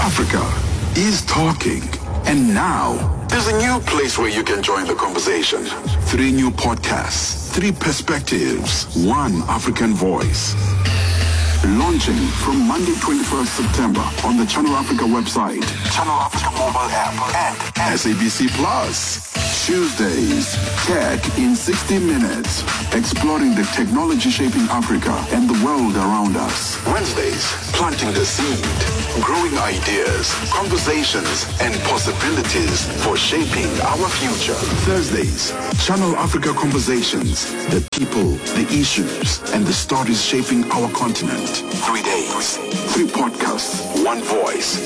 Africa is talking. And now, there's a new place where you can join the conversation. Three new podcasts, three perspectives, one African voice. Launching from Monday, 21st September on the Channel Africa website, Channel Africa mobile app, and SABC Plus. Tuesdays, Tech in 60 Minutes, exploring the technology shaping Africa and the world around us. Wednesdays, planting the seed, growing ideas, conversations, and possibilities for shaping our future. Thursdays, Channel Africa Conversations, the people, the issues, and the stories shaping our continent. 3 days, three podcasts, one voice.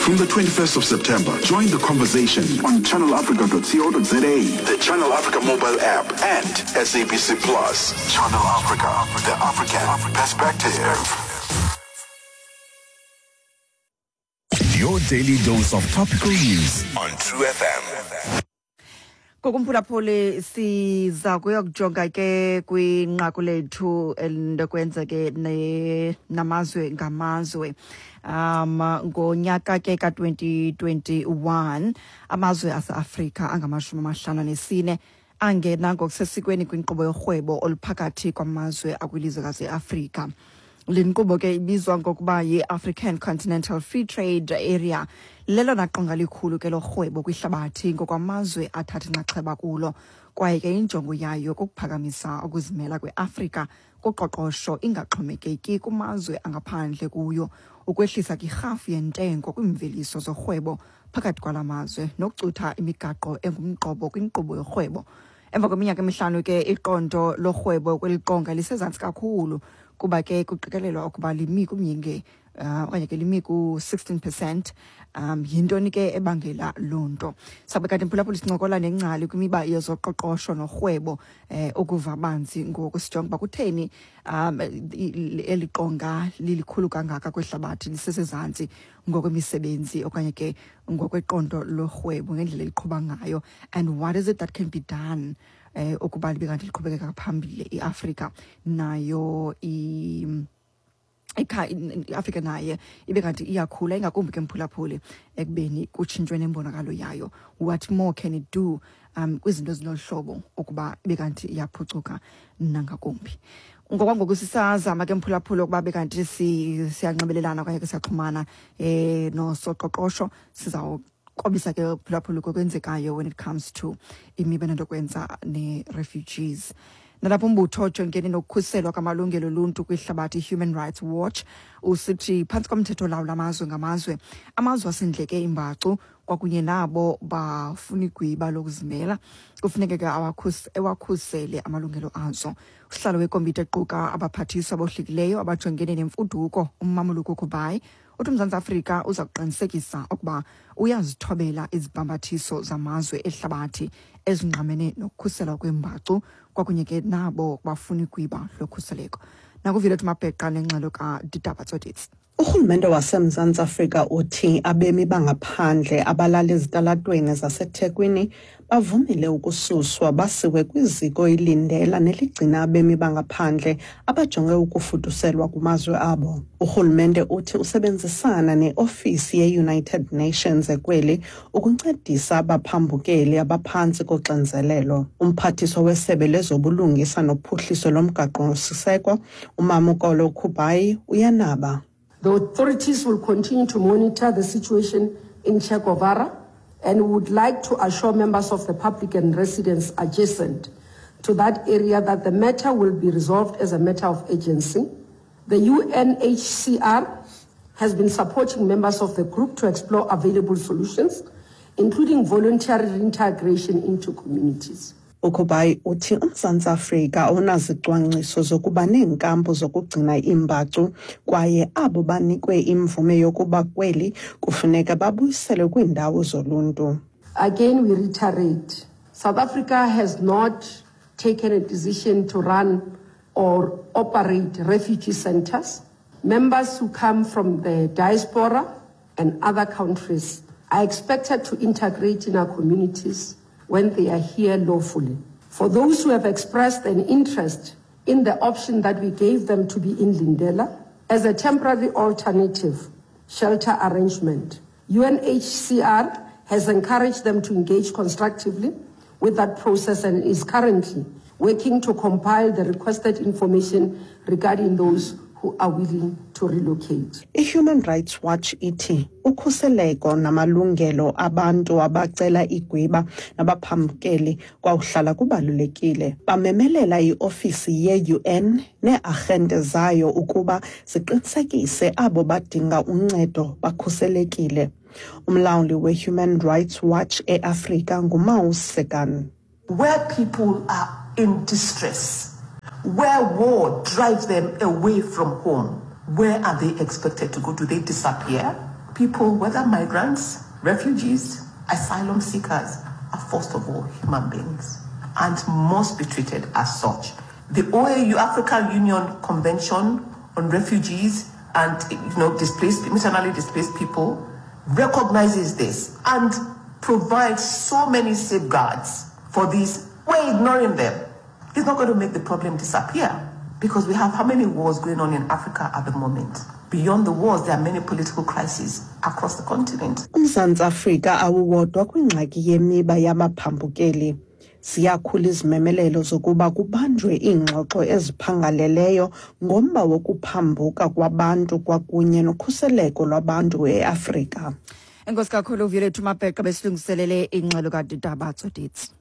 From the 21st of September, join the conversation on channelafrica.co.za, the Channel Africa mobile app, and SABC Plus. Channel Africa, the African perspective. Your daily dose of topical news on True FM. Kokumphulaphuli, siza kuyokujonga ke kwinqaku lethu elintokwenza ke namazwe ngamazwe. Ngonyaka ke ka-2021, amazwe aseAfrika angama-54 angena ngokusesikweni kwinkqubo yorhwebo oluphakathi kwamazwe akwilizwekazi iAfrika. Le nkqubo ke ibizwa ngokuba yi-African Continental Free Trade Area. Lelona qonga likhulu ke lorhwebo kwihlabathi ngokwamazwe athatha inxaxheba kulo, kwaye ke injongo yayo kukuphakamisa ukuzimela kweAfrika kuqoqosho, ingaxhomekeki kumazwe angaphandle kuyo, ukwehlisa kirhafu yentengo kwiimveliso zorhwebo phakathi kwala mazwe, nokucutha imigaqo engumqobo kwinkqubo yorhwebo. Emva kweminyaka emihlanu ke, iqondo lorhwebo kweli qonga lisezantsi kakhulu, kuba ke kuqikelelwa ukuba limi kumyinge okanye ke limi ku-16%. Yintoni ke ebangela loo nto? Sabe kanti, mphulaphuli, sincokola nengcali kwimiba yezoqoqosho norhwebo ukuva banzi ngoku, sijonga uba kutheni eli qonga lilikhulu kangaka kwihlabathi lisesezantsi ngokwemisebenzi okanye ke ngokweqondo lorhwebo ngendlela eliqhuba ngayo, and what is it that can be done ukuba libe kanti liqhubekeka phambili. IAfrika nayo iAfrika naye ibe kanti iyakhula, ingakumbi ke, mphulaphuli, ekubeni kutshintshwe nembonakalo yayo. What more can it do kwizinto ezilolu hlobo ukuba ibe kanti iyaphucuka nangakumbi? Ngokwangoku sisazama ke, mphulaphuli, ukuba bekanti siyanxibelelana okanye ke siyaxhumana nosoqoqosho. Sizawukobisa ke, phulaphuli, kokwenzekayo when it comes to imiba enento kwenza ne-refugees. Nalapho umbutho ojongene nokukhuselwa kwamalungelo oluntu kwihlabathi, Human Rights Watch, usithi phantsi komthetho lawula amazwe ngamazwe, amazwe asindleke imbacu kwakunye nabo bafuna igwiba lokuzimela kufuneke ke ewakhusele amalungelo azo. Usihlalo wekomiti equka abaphathiswa abohlukileyo abajongene nemfuduko, uMmamoloko Kubayi, uthi uMzantsi Afrika uza kuqinisekisa ukuba uyazithobela izibhambathiso zamazwe ehlabathi ezingqamene nokukhuselwa kwembacu kwakunye ke nabo bafuna igwiba lokhuseleko. Nakuvile Mabheqa nengxelo kaDidaba Tsotitsi. Urhulumente waseMzantsi Afrika uthi abemi bangaphandle abalala ezitalatweni zaseThekwini bavumile ukususwa basiwe kwiziko iLindela neligcina abemi bangaphandle abajonge ukufuduselwa kumazwe abo. Urhulumente uthi usebenzisana neofisi ye-United Nations ekweli ukuncedisa abaphambukeli abaphantsi koxinzelelo. Umphathiswa wesebe lezobulungisa nophuhliso lomgaqo-siseko, uMamokolo Kubayi, uyanaba. The authorities will continue to monitor the situation in Che Guevara and would like to assure members of the public and residents adjacent to that area that the matter will be resolved as a matter of urgency. The UNHCR has been supporting members of the group to explore available solutions, including voluntary reintegration into communities. UKubayi uthi uMzantsi Afrika awunazicwangciso zokuba neenkampu zokugcina iimbacu, kwaye abo banikwe imvume yokuba kweli kufuneka babuyiselwe kwiindawo zoluntu. Again, we reiterate, South Africa has not taken a decision to run or operate refugee centers. Members who come from the diaspora and other countries are expected to integrate in our communities when they are here lawfully. For those who have expressed an interest in the option that we gave them to be in Lindela as a temporary alternative, shelter arrangement. UNHCR has encouraged them to engage constructively with that process and is currently working to compile the requested information regarding those who are willing to relocate. I-Human Rights Watch ithi ukhuseleko namalungelo abantu abacela igwiba nabaphambukeli kwawuhlala kubalulekile. Bamemelela iofisi ye-UN nee-arhente zayo ukuba ziqinisekise abo badinga uncedo bakhuselekile. Umlawuli we-Human Rights Watch eAfrika nguMaus Sekan. Where people are in distress, where war drives them away from home, where are they expected to go? Do they disappear? People, whether migrants, refugees, asylum seekers, are first of all human beings and must be treated as such. The OAU, African Union Convention on Refugees and displaced, internally displaced people, recognizes this and provides so many safeguards for these. We're ignoring them. It's not going to make the problem disappear, because we have how many wars going on in Africa at the moment? Beyond the wars, there are many political crises across the continent. UMzantsi Afrika awuwodwa kwingxaki yemiba yabaphambukeli. Ziyakhula izimemelelo zokuba kubanjwe iingxoxo eziphangaleleyo ngomba wokuphambuka kwabantu kwakunye nokhuseleko lwabantu eAfrika. Enkosi kakhulu, Violethu Mabheqa, besilungiselele ingxelo kaDitaba Tsoditsi.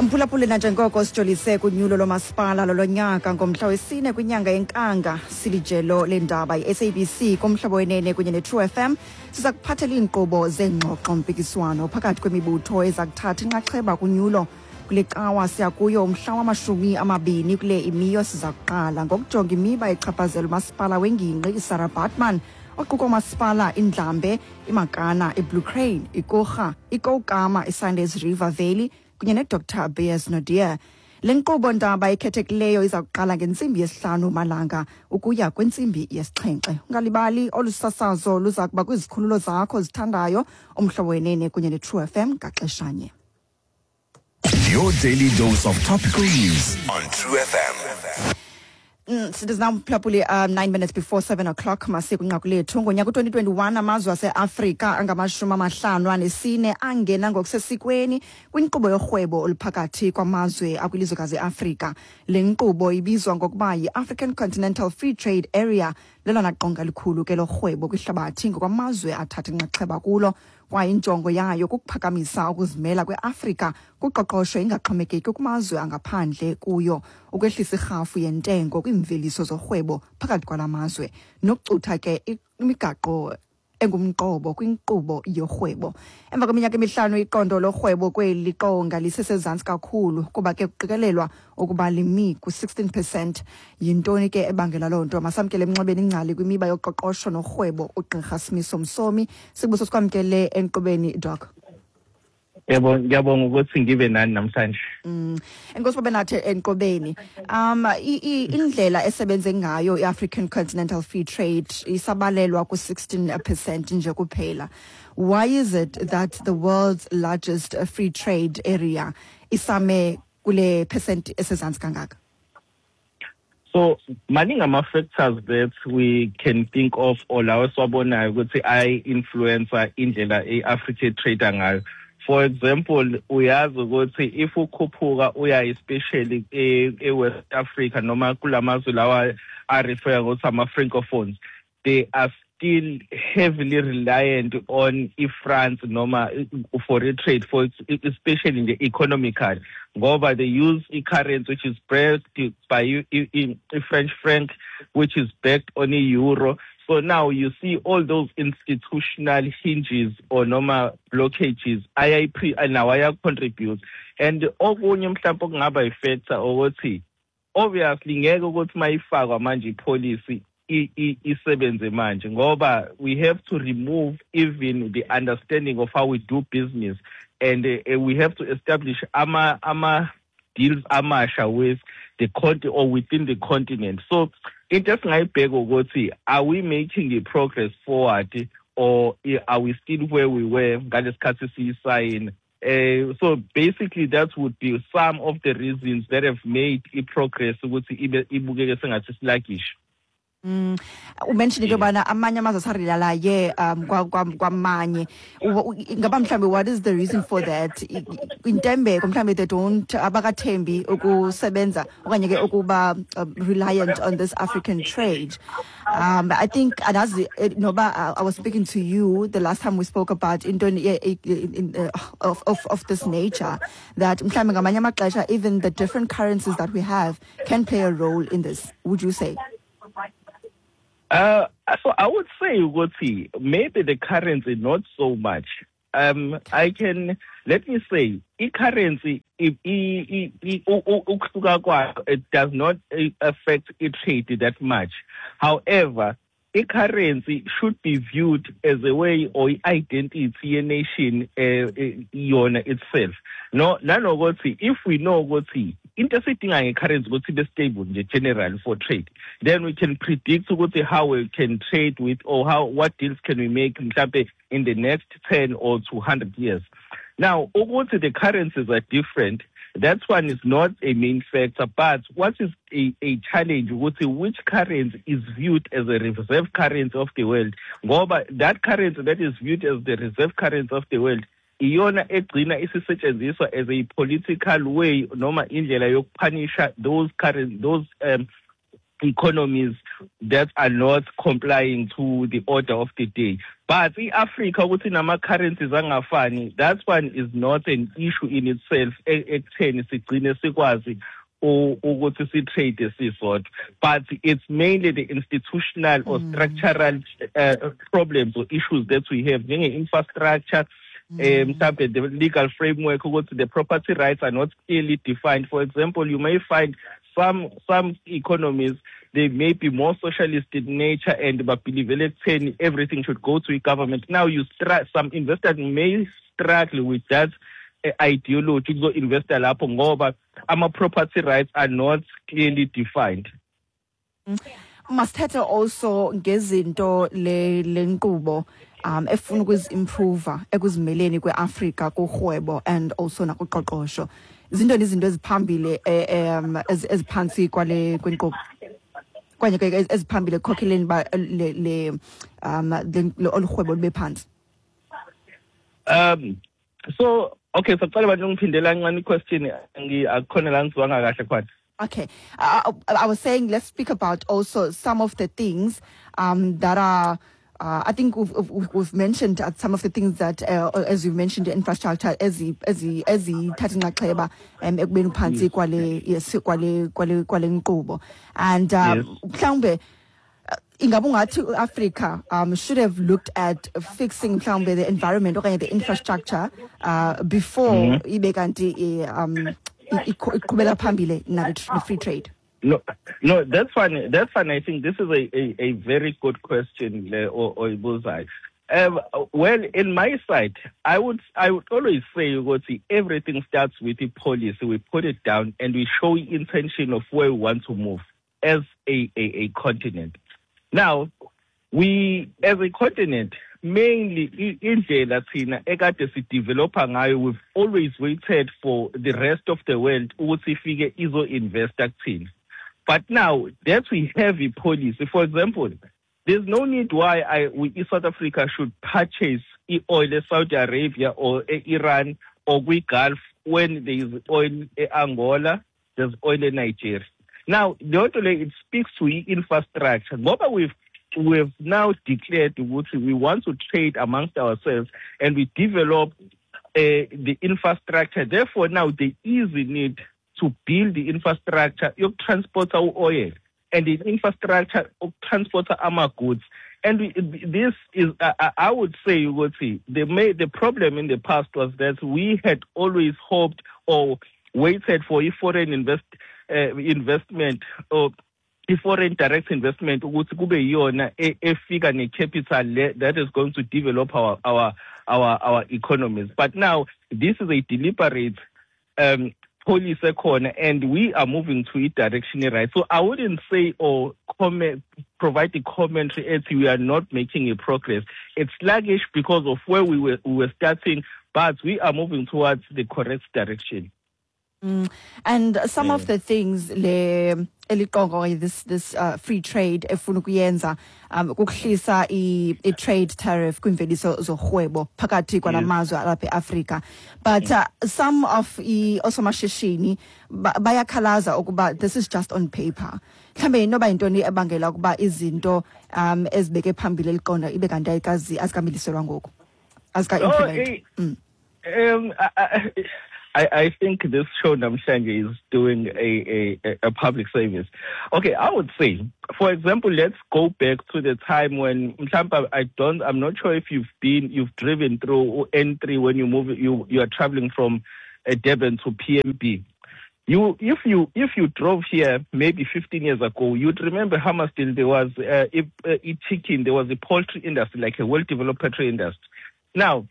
Mphulaphuli, nanjengoko sijolise kunyulo lomasipala lolonyaka ngomhla wesine kwinyanga yeNkanga, silijelo lendaba i-SABC kuMhlobo Wenene kunye ne-True FM siza kuphathela iinkqubo zeengxoxo mpikiswano phakathi kwemibutho eza kuthatha inxaxheba kunyulo. Kule Cawa siya kuyo, umhla wama-20 kule imiyo, siza kuqala ngokujonga imiba echaphazela umasipala wengingqi iSarah Baartman, oquka umasipala iNdlambe, iMakana, iBlue Crane, iKurha, iKoukamma, iSundays River Valley kunye neDr Beyers Naudé. Le nkqubo ndaba ikhethekileyo iza kuqala ngentsimbi 5 malanga ukuya kwintsimbi 7. Ungalibali, olu sasazo luza kuba kwizikhululo zakho zithandayo, uMhlobo Wenene kunye ne-True FM, ngaxeshanye. Your daily dose of topical news on True FM. It is now, mphulaphuli, 7:09. Masiye kwinqaku lethu. Ngonyaka u-2021 amazwe aseAfrika angama-54 angena ngokusesikweni kwinkqubo yorhwebo oluphakathi kwamazwe akwilizwekazi iAfrika. Le nkqubo ibizwa ngokuba yi-African Continental Free Trade Area. Lelona qonga likhulu ke lorhwebo kwihlabathi ngokwamazwe athatha inxaxheba kulo, kwaye injongo yayo kukuphakamisa ukuzimela kweAfrika kuqoqosho, ingaxhomekeki kumazwe angaphandle kuyo, ukwehlisa irhafu yentengo kwiimveliso zorhwebo phakathi kwala mazwe, nokucutha ke imigaqo engumqobo kwinkqubo yorhwebo. Emva kweminyaka 5, iqondo lorhwebo kweli qonga lisesezantsi kakhulu, kuba ke kuqikelelwa ukuba limi ku-16%. Yintoni ke ebangela loo nto? Masamkele emnxebeni ingcali kwimiba yoqoqosho norhwebo, uGqirha Simiso Msomi. Sibuso, sikwamkele enkqubeni, Doc. Yebo, ngiyabonga ukuthi ngibe nani namhlanje. Enkosi babe nathi enkqubeni. Indlela esebenze ngayo i-African Continental Free Trade isabalelwa ku-16% nje kuphela. Why is it that the world's largest free trade area isame kule percent esezantsi kangaka? So maningi ama-factors that we can think of or lawo esiwabonayo ukuthi ayi-influence-a indlela i-Africa trade ngayo. For example, uyazi ukuthi if ukhuphuka uya especially e-West Africa noma kulamazwe lawa a-refer ngokuthi ama-francophones, they are still heavily reliant on i-France noma for i-trade, for especially nje economical, ngoba they use i-currency which is backed by i-French franc, which is backed on i-euro. So now you see all those institutional hinges or noma blockages ayayi now aya-contribute. And okunye mhlawumbe okungaba i-factor ukuthi obviously ngeke ukuthi mayifakwa manje i-policy isebenze manje, ngoba we have to remove even the understanding of how we do business and we have to establish ama deals amasha with the continent or within the continent. So into esingayibheka ukuthi are we making a progress forward or are we still where we were ngalesikhathi siyisayina? So basically that would be some of the reasons that have made i-progress ukuthi ibe ibukeke sengathi sluggish. Umentioned into yobana amanye amazwe asarelalaye kwamanye. Ingaba mhlawumbi what is the reason for that? Intembeko mhlawumbi, they don't, abakathembi ukusebenza okanye ke ukuba reliant on this African trade. I think andazi noba I was speaking to you the last time we spoke about into of this nature, that mhlawumbi ngamanye amaxesha even the different currencies that we have can play a role in this. Would you say? So I would say ukuthi maybe the currency not so much. I can let me say i-currency ukuhluka kwayo, it does not affect i-trade that much. However, i-currency should be viewed as a way or i-identity ye-nation yona itself. No, nanokuthi if we know ukuthi into esiyidinga nge-currency ukuthi ibe stable nje generally for trade, then we can predict ukuthi how we can trade with or how what deals can we make mhlambe in the next 10 or 200 years. Now, ukuthi the currencies are different, that one is not a main factor, but what is a challenge ukuthi which currency is viewed as a reserve currency of the world, ngoba that currency that is viewed as the reserve currency of the world iyona egcina isisetshenziswa as a political way noma indlela yokuphanisha those current those economies that are not complying to the order of the day. But i-Africa ukuthi nama-currencies angafani, that one is not an issue in itself ekutheni sigcine sikwazi ukuthi si-trade sisodwa, but it's mainly the institutional or structural problems or issues that we have, njenge-infrastructure, mhlambe the legal framework, ukuthi the property rights are not clearly defined. For example, you may find some economies, they may be more socialist in nature and believe ekutheni everything should go to government. Now you some investors may struggle with that ideology kuzo-investa lapho ngoba ama-property rights are not clearly defined. Masithethe also ngezinto le nkqubo efuna ukuzi-improve ekuzimeleni kweAfrika kurhwebo and also nakuqoqosho. Zintoni izinto eziphambili eziphantsi kwale kwenkqubo okanye ke eziphambili ekukhokheleni uba le olu rhwebo lube phantsi? So okay, sacela bantu ngiphindela kancane i-question, akukhona la ngizwanga kahle khona. Okay. I was saying let's speak about also some of the things that are, I think we've mentioned some of the things that, as you mentioned, the infrastructure, ezithatha inxaxheba ekubeni phantsi kwale, yes, kwale nkqubo. And mhlawumbe ingabe ungathi uAfrica should have looked at fixing mhlawumbe the environment okanye the infrastructure before ibe kanti iqhubela phambili nale free trade? No, that's fine. That's fine. I think this is a very good question, oyibuzayo. Well, in my side, I would always say ukuthi everything starts with the policy. We put it down and we show intention of where we want to move as a continent. Now, we as a continent, mainly indlela thina ekade sidevelopa ngayo, we've always waited for the rest of the world ukuthi ifike izo-investa kuthina. But now that we have a policy, for example, there's no need why we, South Africa should purchase oil in Saudi Arabia or Iran or kwi-Gulf when there is oil in Angola, there's oil in Nigeria. Now, the other way, it speaks to infrastructure. Ngoba we've now declared ukuthi we want to trade amongst ourselves and we develop the infrastructure. Therefore, now there is a need to build the infrastructure yokutransporta u-oil and the infrastructure okutransporta ama-goods. And this is, I would say, ukuthi the problem in the past was that we had always hoped or waited for a foreign investment or i-foreign direct investment ukuthi kube yiyona efika ne-capital that is going to develop our economies. But now this is a deliberate policy ekhona and we are moving to a direction right. So I wouldn't say or comment provide the commentary as we are not making a progress. It's sluggish because of where we were, we were starting, but we are moving towards the correct direction. Mm. And some of the things le eliqongo okanye this this uh, free trade efuna ukuyenza um kukuhlisa i-trade tariff kwiimveliso zorhwebo phakathi kwala mazwe alapha eAfrika but uh, some of osomashishini bayakhalaza ukuba this is just on paper mhlawumbe inoba yintoni ebangela ukuba izinto um ezibeke phambili eliqonda ibe kanti ayikazi azikamiliselwa ngoku azika-implement oh, eh, mm. Um, I, I, I think this show namhlanje is doing a, a, a public service. Okay, I would say, for example, let's go back to the time when I don't, I'm not sure if you've been, you've driven through N3 when you move, you, you are traveling from uh, Durban to PMB. You, if you, if you drove here maybe 15 years ago, you'd remember Hammersdale, there was uh, a, a chicken, there was a poultry industry, like a well-developed poultry industry. Now,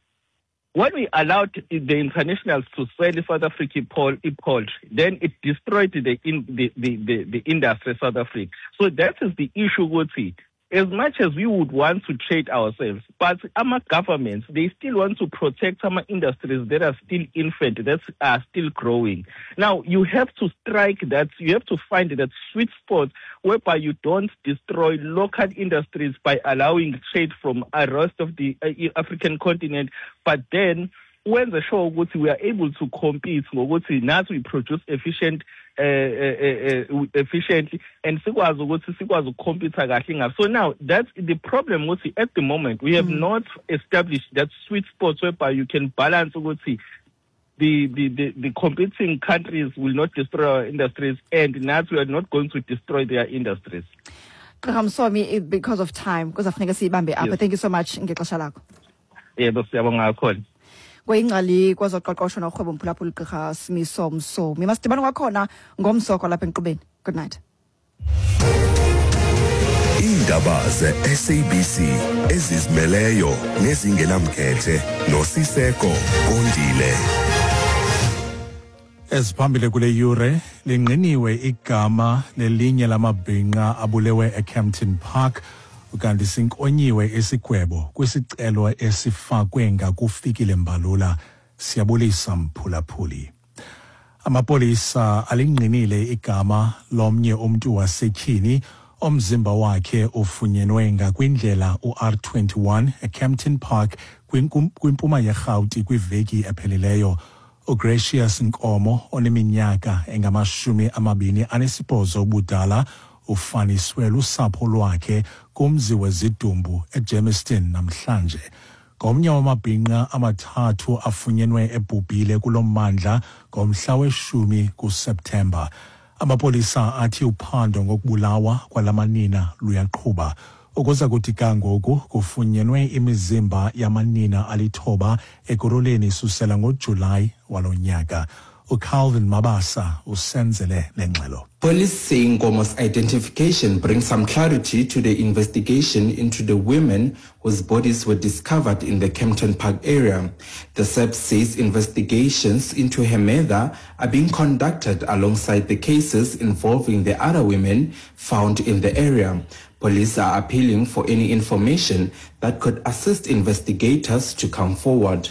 when we allowed the internationals to sell South African poultry, then it destroyed the, in, the, the, the, the industry South Africa. So that is the issue, Guti. As much as we would want to trade ourselves, but our governments, they still want to protect our industries that are still infant, that are still growing. Now, you have to strike that, you have to find that sweet spot whereby you don't destroy local industries by allowing trade from the rest of the uh, African continent, but then wenze sure ukuthi we are able to compete ngokuthi nathi we produce efficient uh, uh, uh, efficiently and sikwazi ukuthi sikwazi ukucompete kahle ngapha so now that's the problem ukuthi at the moment we have mm. not established that sweet spot whereby you can balance ukuthi the, the, the, the competing countries will not destroy our industries and nathi we are not going to destroy their industries Gqirha Msomi because of time kuzafuneka siyibambe apha yes. thank you so much ngexesha lakho yebo siyabonga kakhulu kweyingcali kwezoqoqosho norhwebo mphulaphula ugqirha Simiso Msomi masidibane kwakhona ngomso kwalapha enkqubeni good night Iindaba ze-SABC ezizimeleyo nezingenamkhethe noSiseko Kondile. Eziphambili kule yure lingqiniwe igama lelinye lamabhinqa abulewe eKempton Park ukanti sinkonyiwe isigwebo kwisicelo esifakwe ngakufikile Mbalula. Siyabulisa mphulaphuli. Amapolisa alingqinile igama lomnye umntu wasetyhini omzimba wakhe ufunyenwe ngakwindlela u-R21 eKempton Park kwimpuma yeRhawuti kwiveki ephelileyo. UGracious Nkomo oneminyaka engamashumi amabini anesibhozo ubudala ufaniswe lusapho lwakhe kumzi wezidumbu eGermiston namhlanje. Ngomnye wamabhinqa amathathu afunyenwe ebhubhile kulo mmandla ngomhla weshumi kuSeptemba. Amapolisa athi uphando ngokubulawa kwala manina luyaqhuba. Ukuza kuthi ga ngoku kufunyenwe imizimba yamanina alithoba Ekurhuleni isusela ngoJulayi walo nyaka. UCalvin Mabasa usenzele le ngxelo. Police say Nkomo's identification brings some clarity to the investigation into the women whose bodies were discovered in the Kempton Park area. The SAPS says investigations into her murder are being conducted alongside the cases involving the other women found in the area. Police are appealing for any information that could assist investigators to come forward.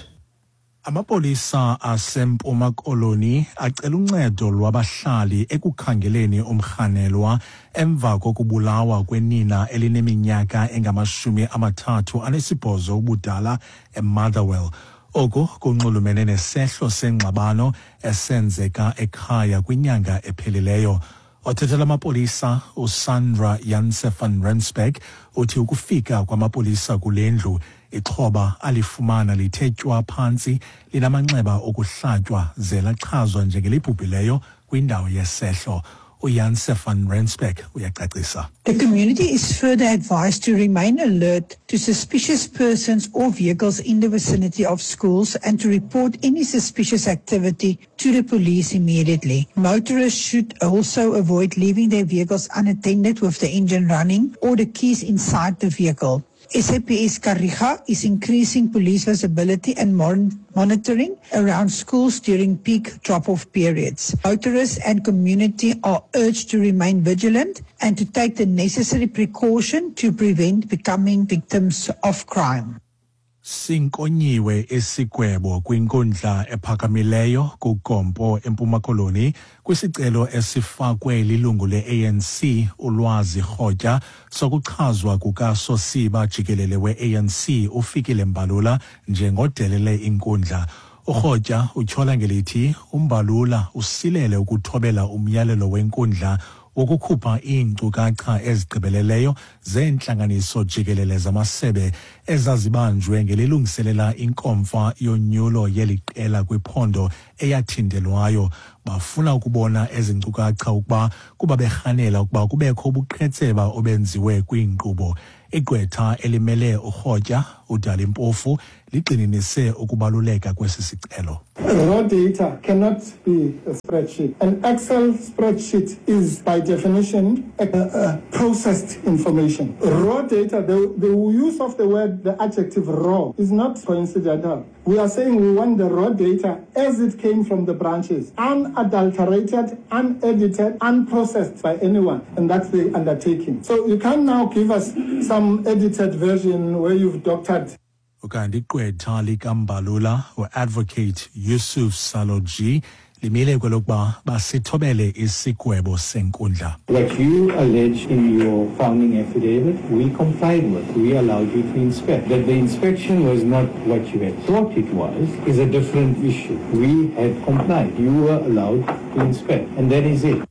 Amapolisa aseMpuma Koloni acela uncedo lwabahlali ekukhangeleni umrhanelwa emva kokubulawa kwenina elineminyaka engamashumi amathathu anesibhozo ubudala eMotherwell. Oku kunxulumene nesehlo sengxabano esenzeka ekhaya kwinyanga ephelileyo. Othethela amapolisa uSandra Janse van Rensburg uthi ukufika kwamapolisa kule ndlu ixhoba alifumana lithe tywa phantsi linamanxeba okuhlatywa ze lachazwa njengelibhubhileyo kwindawo yesehlo. uJanse van Rensburg uyacacisa. The community is further advised to remain alert to suspicious persons or vehicles in the vicinity of schools and to report any suspicious activity to the police immediately. Motorists should also avoid leaving their vehicles unattended with the engine running or the keys inside the vehicle. SAPS Kariga is increasing police visibility and monitoring around schools during peak drop-off periods. Motorists and community are urged to remain vigilant and to take the necessary precaution to prevent becoming victims of crime. Sinkonyiwe isigwebo kwinkundla ephakamileyo kuGompo eMpuma Koloni kwisicelo esifakwe lilungu le-ANC uLwazi Rhotya sokuchazwa kukaSosiba jikelele we-ANC uFikile Mbalula njengodelele inkundla. URhotya utyhola ngelithi uMbalula usilele ukuthobela umyalelo wenkundla wokukhupha iinkcukacha ezigqibeleleyo zeentlanganiso jikelele zamasebe ezazibanjwe ngelilungiselela inkomfa yonyulo yeli qela kwiphondo eyathintelwayo. Bafuna ukubona ezi nkcukacha ukuba kuba berhanela ukuba kubekho ubuqhetseba obenziwe kwiinkqubo. Igqwetha elimele uRhotya, uDali Mpofu, ligxininise ukubaluleka kwesi sicelo. Raw data cannot be a spreadsheet. An Excel spreadsheet is, by definition, a processed information. Raw data, the use of the word, the adjective raw, is not coincidental. We are saying we want the raw data as it came from the branches, unadulterated, unedited, unprocessed by anyone. And that's the undertaking. So you can now give us some edited version where you've doctored. Ukanti igqwetha likaMbalula, uAdvocate Yusuf Saloji, limile kwelokuba basithobele isigwebo senkundla. What you allege in your founding affidavit, we complied with. We allowed you to inspect. That the inspection was not what you had thought it was is a different issue. We had complied. You were allowed to inspect, and that is it.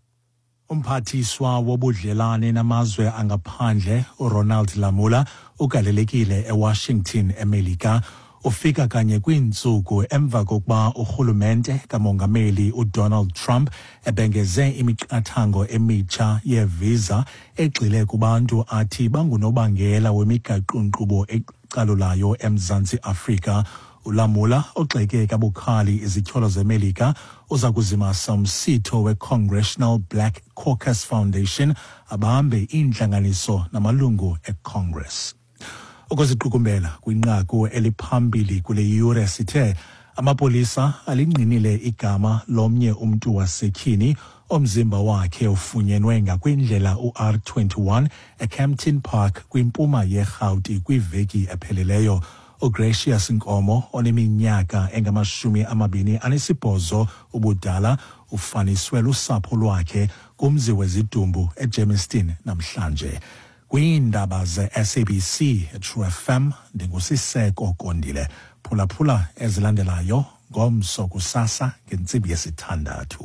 Umphathiswa wobudlelane namazwe angaphandle uRonald Lamola ugalelekile eWashington eMelika. Ufika kanye kwiintsuku emva kokuba urhulumente kamongameli uDonald Trump ebhengeze imiqathango emitsha yevisa egxile kubantu athi bangunobangela wemigaqo-nkqubo ecalulayo eMzantsi Afrika. ULamola, ogxeke kabukhali izityholo zeMelika, uza kuzimasa umsitho weCongressional Black Caucus Foundation, abambe iintlanganiso namalungu eCongress. Ukuziqukumbela kwinqaku eliphambili kule yure, sithe amapolisa alingqinile igama lomnye umntu wasetyhini omzimba wakhe ufunyenwe ngakwindlela u-R21 eKempton Park kwimpuma yeRhawuti kwiveki epheleleyo. UGracious Nkomo oneminyaka engama-28 ubudala ufaniswe lusapho lwakhe kumzi wezidumbu eGermiston namhlanje. Kwiindaba ze-SABC True FM, ndinguSiseko Kondile. Phulaphula ezilandelayo ngomso kusasa ngentsimbi yesithandathu.